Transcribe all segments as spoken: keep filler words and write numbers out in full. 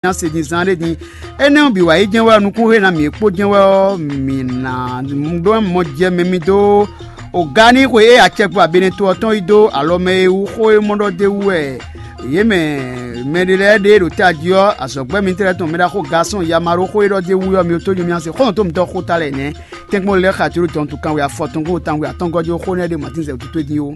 ná se din zán ɖé din. Énɛ́ ɔ́ bǐ wá yi jɛ́n wɛ ɔ́, nukúnxwe ná mǐ kpó jɛ́n wɛ ɔ́, mǐ ná ɖó mɔ jɛ mɛ mi dó o ga ní xwe e acɛkpo abɛnɛ to ɔ́ tɔn yi dó alɔ mɛ e wú xó e mɔ ɖɔ d'é wú wɛ yě mɛ mɛɖé lɛ́ɛ ɖe ɖo tají ɔ́, azɔ̌gbɛ́ mitɔ́ lɛ́ɛ tɔn mɛ ɖaxó Gasɔn Yamaɖó xó e ɖɔ d'é wú ɔ́, mi tó nyi mì se xɔ́ntɔn mitɔ́ xó ta lɛ́ɛ nɛ́. Tɛ́nkpɔ́n lɛ́ɛ xa jló dɔn tunkan we afɔtɔn kó tánwe atɔ́ngɔ́ jó xó nɛ́ ɖé Matín zɛ wútu towe din ó.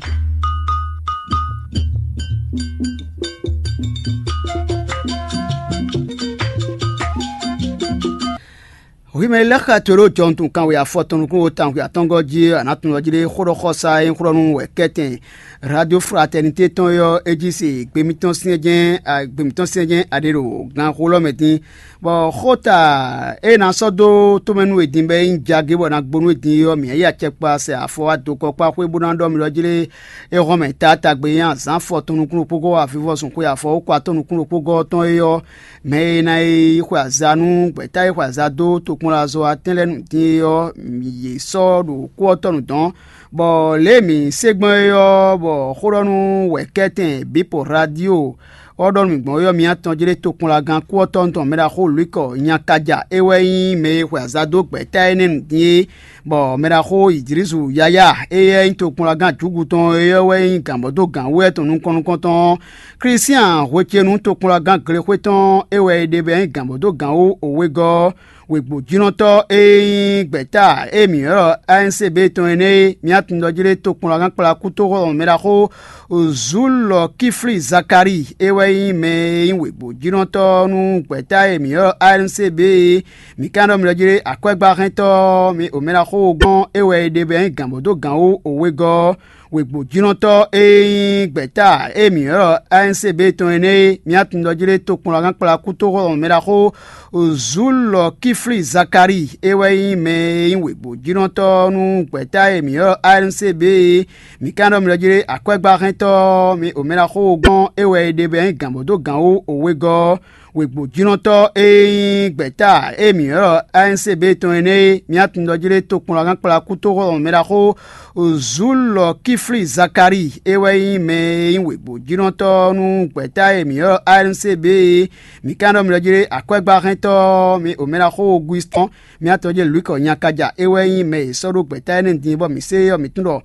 Hwi mɛ lɛ́ xa to ɖó jɔntunkan we afɔtɔn nukún wo tánwe atɔ́ngɔ́ jí a nǎ tunwun ɔ́ jí ɖé xó ɖɔ xɔsa e nyí xó ɖɔ nú wɛ kɛ́tɛn Radio Fraternité tɔn e ɔ́, é jí se gbe mitɔn syɛ́njɛ́n gbe mitɔn syɛ́njɛ́n a ɖe ɖo ganxolɔ́ mɛ dín. Bɔ xóta e ná sɔ́ dó tomɛ nú we din bɔ é nyí jagé bɔ è nǎ gbo nú we din é ɔ́, mǐ yi acɛkpa sɛ afɔ wá dokɔ kpá xwé bó ná ɖɔ mì ɖɔ jí lé é hɔn mɛ taatagbe e nyí azǎn afɔtɔn nukún ɖokpó gɔ́ avivɔzun xwe afɔ wó kɔ atɔ́ nukún ɖokpó gɔ́ ɔ́ tɔn é ɔ́, mɛ e ná yi xwe aza nú gbɛ̌ta e xwe aza dó tokpɔnlazɔ́watɛ́n lɛ́ɛ nu din é ɔ́, yě sɔ́ ɖo kú ɔ́ tɔnu dɔ̌n, bɔ lě e mǐ se gbɔn é ɔ́, bɔ xó ɖɔ nú wɛ̌kɛ́tɛn Bǐpo Radio ɔ́ ɖɔ nú mǐ gbɔn é ɔ́, mi atɔn jlé tokpɔnlagán kú ɔ́ tɔn tɔn mɛɖaxó Lwikɔ Nyakaja é wɛ nyí mɛ e xwe aza dó gbɛ̌ta énɛ́ nu din é, bɔ mɛɖaxó Idlísu Yaya éyɛ́ nyí tokpɔnlagán Jǔgu tɔn é ɔ́ wɛ nyí gǎnbɔ́dógǎn wú wɛ tɔn nukɔn nukɔntɔn ɔ́, Klísyán hwecenu tokpɔnlagán Glexwé tɔn é wɛ é ɖe bɔ é nyí gǎnbɔ́dógǎn wú wegɔ́ ɔ́, wěgbójínɔtɔ́ e nyí gbɛ̌ta e mǐ ylɔ́ A N C B tɔn énɛ́ é, mi atɔn ɖɔ jí ɖé tokpɔnlagán kplá kútóxɔ mɛɖaxó Zulɔkífli Zakalíi é wɛ nyí mɛ e nyí wěgbójínɔtɔ́ nú gbɛ̌ta e mǐ ylɔ́ A N C B é. Mǐ ka ɖɔ mi ɖɔ jí ɖé akwɛ́gbáhɛntɔ́ ɔ́, mi omɛɖaxó gbɔn é wɛ é ɖe bɔ é nyí gǎnbɔ́dógǎn wú wegɔ́ ɔ́, wěgbójínɔtɔ́ e nyí gbɛ̌ta e mǐ ylɔ́ A N C B tɔn énɛ́ é, mi atɔn ɖɔ jí ɖé tokpɔnlagán kplá kútóxɔ mɛɖaxó Zulɔkífli Zakalíi é wɛ nyí mɛ e nyí wěgbójínɔtɔ́ nú gbɛ̌ta e mǐ ylɔ́ A N C B é. Mǐ ka ɖɔ mi ɖɔ jí ɖé akwɛ́gbáhɛntɔ́ ɔ́, mi omɛɖaxó gbɔn é wɛ é ɖe bɔ é nyí gǎnbɔ́dógǎn wú wegɔ́ ɔ́, wěgbójínɔtɔ́ e nyí gbɛ̌ta e mǐ ylɔ́ A N C B tɔn énɛ́ é, mi atɔn ɖɔ jí ɖé tokpɔnlagán kplá kútóxɔ mɛɖaxó Zulɔkífli Zakalíi é wɛ nyí mɛ e nyí wěgbójínɔtɔ́ nú gbɛ̌ta e mǐ ylɔ́ A N C B é. Mǐ ka ɖɔ mi ɖɔ jí ɖé akwɛ́gbáhɛntɔ́ ɔ́, mi omɛɖaxó Ogwistɔn, mi atɔn jí Lwikɔ Nyakaja é wɛ nyí mɛ e è sɔ́ ɖó gbɛ̌ta énɛ́ din bɔ mǐ se é ɔ́, mǐ tunwun ɖɔ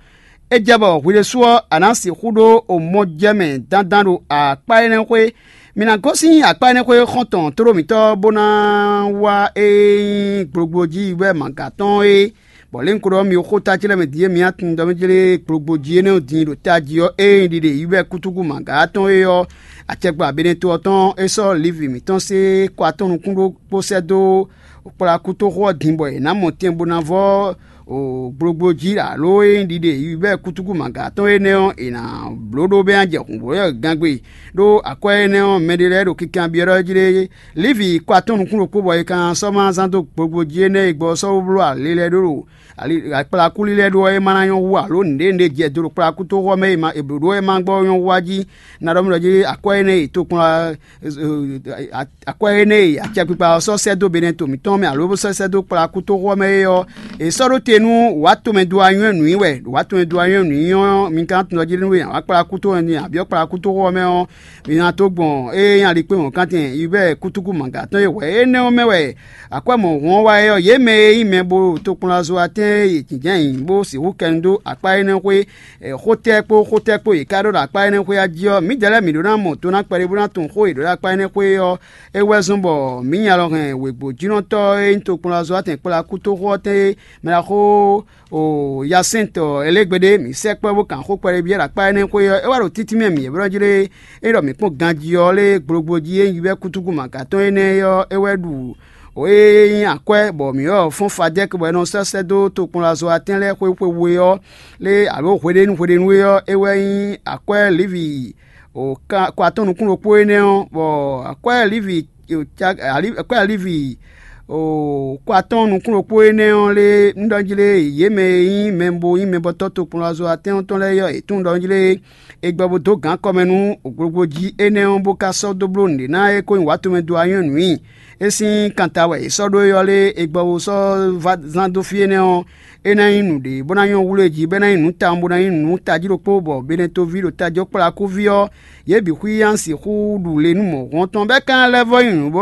é jɛ bɔ hwi ɖésú ɔ́, a nǎ sixú ɖó omɔjɛmɛ dandan ɖo akpá énɛ́ xwé. Mi ná gosín akpá énɛ́ xwé xɔ́ntɔn tlóló mǐtɔn bó ná wá e nyí gblogblo jí wɛ mǎga tɔn é. Bɔ lě un ko ɖɔ mi xó ta ce lɛ́ɛ mɛ din e mi atun ɖɔ mɛ jlé gblogblo jí énɛ́ din ɖo tají ɔ́, ée nyí ɖiɖe yi wɛ kútúkú mǎga tɔn é ɔ́, acɛkpa Beneto ɔ́ tɔn é sɔ́ Livi mǐtɔn sé kɔ atɔn nukún ɖó kpó sɛ́ dó kplá kútóxó ɔ́ din bɔ è nǎ mɔ tɛn bó ná vɔ́ o gblogblo jí alo e nyí ɖiɖe yi wɛ kútúkú mǎga tɔn énɛ́ ɔ́, è nǎ bló ɖó bɛ́ ná jɛ hǔnblɔ́yɔ gangbe. Ɖó akwɛ́ énɛ́ ɔ́, mɛɖé lɛ́ɛ ɖo kinkanbyɔ́ jí ɖé. Livi kɔ atɔ́n nukún ɖokpó bɔ è ka sɔ́ ma zán dó gbogbo jí énɛ́ e gbɔ ɔ́ sɔ́ wó bló alě lɛ́ɛ ɖó ɖo akplakúlí lɛ́ɛ ɖó ɔ́, é ma ná nyɔ́ hú alo nǔɖé nǔɖé jɛ do ɖo kplakútóxɔ mɛ e ma è blǒ ɖó wɛ ma gbɔ nyɔ́ hú wá jí. Na ɖɔ mì ɖɔ jí akwɛ́ énɛ́ e tokplɔn akwɛ́ énɛ́ e acɛkpikpa ɔ́ sɔ́ sɛ́ dó Benɛto mǐtɔn mɛ alo bó sɔ́ sɛ́ dó kplakútóxɔ mɛ é ɔ́, è sɔ́ ɖó te nú wǎ tomɛ do anyɔ́ nǔ i wɛ. Wǎ tomɛ do anyɔ́ nǔ i ɔ́, mi ka tunwun jí nú wá kplakútóxɔ mɛ, abǐ kplakútóxɔ mɛ ɔ́, mi ná tó gbɔn ée nyí alikpémɔ̌kantɛn yi wɛ kútúkú mǎga tɔn e hwɛ énɛ́ ɔ́ mɛ wɛ akwɛ́ mɔ̌hun ɔ́ wá é ɔ́, yě mɛ e nyí mɛ bo tokplɔ́nzɔ́watɛ́n e yě jínjɔ́n ayǐ bó sixú kɛ nu dó akpá énɛ́ xwé xótɛ́ kpó xótɛ́ kpó yě ká ɖó ɖo akpá énɛ́ xwé ɔ́ jí ɔ́, mǐdɛɛ lɛ́ɛ mǐ ɖó ná mɔ do ná kpɛɖé bó ná tunwun xó e è ɖǒ ɖo akpá énɛ́ xwé ɔ́. É wɛ zɔ́n bɔ mǐ nya lɔ hɛn wěgbójínɔtɔ́ e nyí tokplɔ́nzɔ́watɛn kplá kútóxó ɔ́ tɛn e mɛ ná xó o yasɛ́ntɔ Elégbéɖé, mǐ sɛkpɔ́ bó kan xó kpɛɖé byɔ́ ɖo akpá énɛ́ xwé ɔ́, é wá ɖo títí mɛ mǐ e blɔ́ jí lé. É ɖɔ mǐ kpɔ́n ganjí ɔ́ lé gblogblo jí e nyí wɛ kútúkú mǎga tɔn énɛ́ ɔ́, é wɛ ɖu o e nyí akwɛ́ bɔ mǐ ɔ́ fɔ́n Fadɛ́k bɔ è nɔ sɔ́ sɛ́ dó tokplɔ́nzɔ́watɛ́n lɛ́ɛ xwé xwe we ɔ́ lé alo hweɖénu hweɖénu é ɔ́, é wɛ nyí akwɛ́ Livi o kɔ atɔ́n nukún ɖokpó énɛ́ ɔ́, bɔ akwɛ́ Livi akwɛ́ Livi o kɔ atɔ́n nukún ɖokpó énɛ́ ɔ́ lé un ɖɔ jí lé yě mɛ e nyí mɛ bo nyí mɛbɔtɔ́ tokplɔ́nzɔ́watɛ́n ɔ́ tɔn lɛ́ɛ é ɔ́, è tunwun ɖɔ jí lé è gbɔ bó dó gǎn kɔmɛ nú gblogblo jí énɛ́ ɔ́, bó ka sɔ́ dó bló nǔɖé ná é ko nyí wǎ tomɛ do anyɔ́ nǔ i. É sín kanta wɛ è sɔ́ ɖó é ɔ́ lé, è gbɔ bó sɔ́ va zán dó fí énɛ́ ɔ́, é ná nyí nǔɖé bó ná nyɔ́ wlú e jí, bɔ é ná nyí nǔ tawun bó ná nyí nǔ tají ɖokpó, bɔ Benɛtoví ɖo tají ɔ́ kplá kúví ɔ́, yě bǐ xwíyá sín xú ɖu le nú mɔ̌hun ɔ́ tɔn, bɔ é ka ná lɛ́ vɔ́ nyi nǔ bó